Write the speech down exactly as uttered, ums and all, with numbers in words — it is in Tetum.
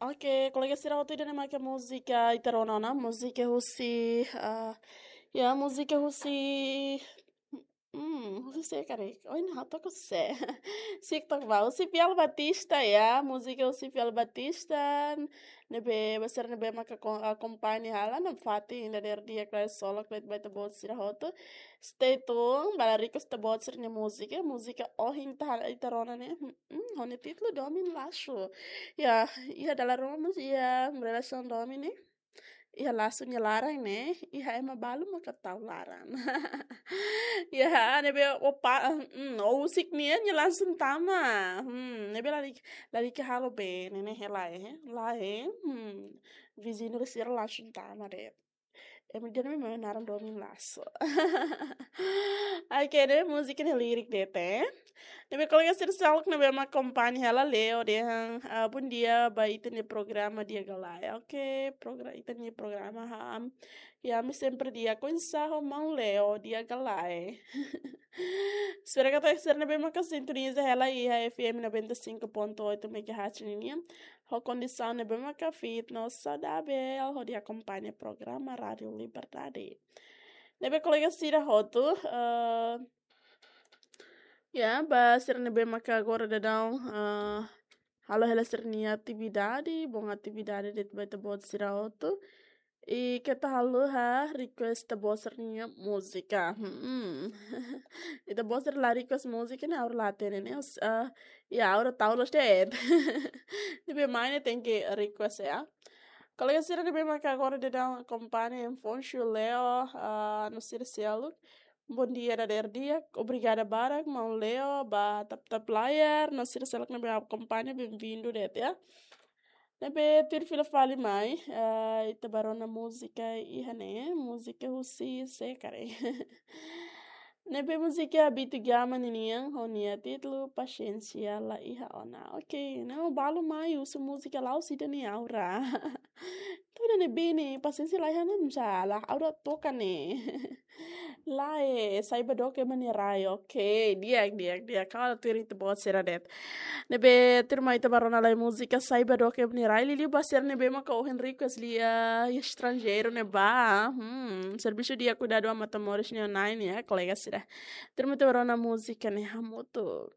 Oke, kolega sira hotu, ida-ne'e maka múzika ita rona ona, múzika husi, ah, ya, múzika husi, hmm, husi sé karik? Oh, ina, ha'u to'o husi sé. Sik tok ba, husi Fiel Batista, ya, múzika husi Fiel Batista, ne'ebé, ba sira ne'ebé maka ko-, akompaña hela, nafatin ida dadeer-di'ak kala solok ba ita-boot sira hotu. Stay tuned, ba lalika ita-boot sira-nia múzika, múzika ohin ita, ita rona ne'e, hmm, hmm, ho nia títulu Domin Laxu. Ya, iha dala ruma mós iha relasaun domin ne'e. Iha laxu nia laran ne'e, iha ema balu maka tau laran. Ya, ne'ebé opa, mm, o husik nian nia langsung tama. Hmm, ne'ebé lalika, lalika halo bee ne'e, ne'e hela, eh. Lae, hmm, viziñu sira langsung tama de'it. Ema ida-ne'e mak naran Domin Laxu. Oke, ne'e múzika nia lirik de'it, eh. Ne'ebé kolega sira seluk ne'ebé mak akompaña hela, Leo dehan, ah, bom dia ba ita-nia programa di'ak ka lae. Oke, progra-, ita-nia programa, ha. Ya, ami sempre di'ak oinsá ho maun Leo, di'ak ka lae. Espera katak sira ne'ebé maka sintoniza hela iha F M noventa e cinco ponto oito megahertz ninian ho kondisaun ne'ebé maka fit no saudavel hodi akompaña programa Rádio Liberdade. Ne'ebé kolega sira hotu, eh, ya, ba sira ne'ebé maka agora daudaun, eh, halo hela sira-nia atividade, bom atividade de'it ba ita-boot sira hotu. I keta haluha request ita-boot sira-nia múzika. Hmm. Ita-boot sira la request múzika ne'e ha'u la hatene ne'e. Os-, ah, ya, ha'u la tau los de'it. Ne'ebé mai ne'e tenke request, ya. Kolega sira ne'ebé maka agora daudaun akompaña, Enfoncio, Leo, ah, no sira seluk. Bom dia, dadeer-di'ak. Obrigada barak, maun Leo, ba tap-tap layar. No sira seluk ne'ebé akompaña, bem-vindo de'it, ya. Ne'ebé tuir fila fali mai, eh, ita bá rona múzika iha ne'e, múzika husi sé karik? Ne'ebé múzika Bitu Gama ninian, ho nia títulu Pasiénsia La Iha Ona. Oke, no balu mai husu múzika la'ós ida-ne'e aura. Tuir ida-ne'ebé ne'e, pasiénsia la iha ona, misalnya, aura toka ne'e. Lae, Saiba Dook Ema Nia Rai. Oke, di'ak, di'ak, di'ak. Kau ada tuir ita-boot sira de'it. Ne'ebé tuirmai ita bá rona lai múzika Saiba Dook Ema Nia Rai. Liuliu ba sira ne'ebé maka ohin request lia, estranjeiru ne'ebá. Hmm, servisu di'ak kuidadu an Matamoros nia na'in, ya, kolega sira. Tuirmai ita bá rona múzika ne'e hamutuk.